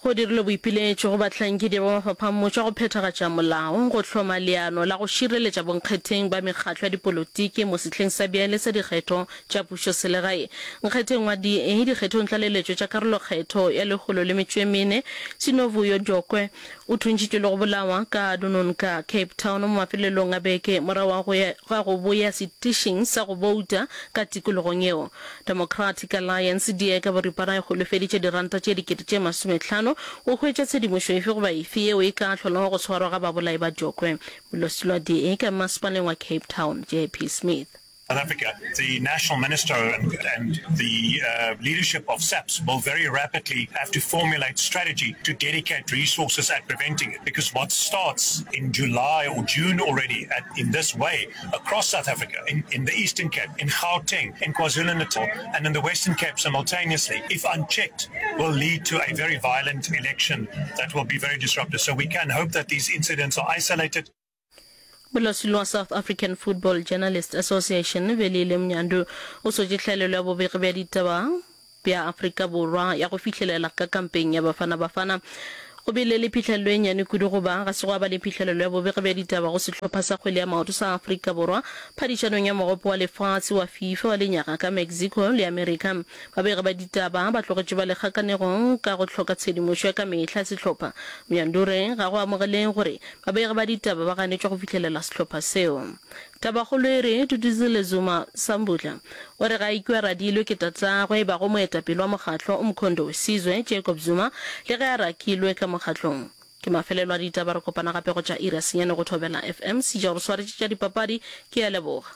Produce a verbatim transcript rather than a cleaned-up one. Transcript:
Go dirilwe boipiletšo go bahlankedi ba mafapha a mmušo a go phethagatša molao go hloma leano la go šireletša bonkgetheng ba mekgatlo ya dipolotiki mo sehleng sa bjale sa dikgetho tša pušoselegae. Nkgetheng wa D A dikgethong tlaleletšo tša karolokgetho ya lekgolo le metšo e mene, Sinovuyo Dyokwe o thuntšhitšwe le go bolawa ka Dunoon ka Cape Town mo mafelelong a beke morago ga go boya setišing sa go bouta ka tikologong yeo. Democratic Alliance, D A, ka boripana e holofeditše diranta tše dikete tše masomehlano go hwetša tshedimošo efe goba efe yeo e ka hlolago go swarwa ga babolai ba Dyokwe. Molwasilo wa D A ka mmasepaleng wa Cape Town, J P Smith. South Africa, the national minister and, and the uh, leadership of SAPS will very rapidly have to formulate strategy to dedicate resources at preventing it. Because what starts in July or June already at, in this way across South Africa, in, in the Eastern Cape, in Gauteng, in KwaZulu-Natal, and in the Western Cape simultaneously, if unchecked, will lead to a very violent election that will be very disruptive. So we can hope that these incidents are isolated. Molwasilo wa South African Football Journalists Association, Velile Mnyandu, o sotše tlhaelelo ya bobegi bja ditaba bja Afrika Borwa ya go fihlelela ka kampeng ya Bafana Bafana. Go bile le phihlelelo e nnyane kudu goba ga se gwa ba le phihlelelo ya bobegi bja ditaba go sehlopha sa kgwele ya maoto sa Afrika Borwa phadišanong ya Mogopo wa Lefase wa FIFA wa lenyaga ka Mexico le Amerika. Babegi ba ditaba ba tlogetše ba le kgakanegong ka go hloka tshedimošo ya ka mehla ya sehlopha. Mjandure ga go amogeleng gore babegi ba ditaba ba ganetšwa go fihlelela sehlopha seo. Tabakgolo e re, Duduzile Zuma Sambudla o re ga a ikwe a radilwe ke tatagwe e bago moetapele wa mokgatlo Umkhonto weSizwe, Jacob Zuma, le ge a rakilwe ka mokgatlong. Ke mafelelo a ditaba, re kopana gape go tša iri ya senyane go Thobela F M. Seja o re swaretše tša dipapadi, ke a leboga.